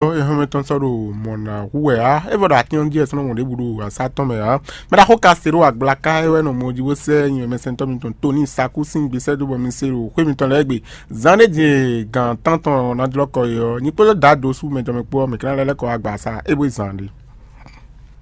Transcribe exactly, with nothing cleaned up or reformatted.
Ɔ, ehɔn mɛ tɔn sɔ́ ɖo mɔ̌ ná hu wɛ á. É vɔ ɖo atín ɔ́ jí wɛ sɔ́ nɔ mɔ ɖěbǔ ɖo asá tɔn mɛ ǎ. Mɛ ɖaxó ka se ɖó agblaka é wɛ nɔ mɔ jí bó sɛ́ nyi mɛ sɛntɔ́ mitɔn Toni Saku sín gbèsè dó bɔ mi se ɖo xwé mitɔn lɛ́ɛ gbe. Zan ɖé din e gǎn tántɔn ná jlɔ́ kɔ é ɔ́, nyi kpódó dǎ dó sú mɛ tɔn mɛ kpó ɔ́, mɛ kɛ́nɛ lɛ́ lɛ́ kɔ wá gba asá é bó zan ɖé.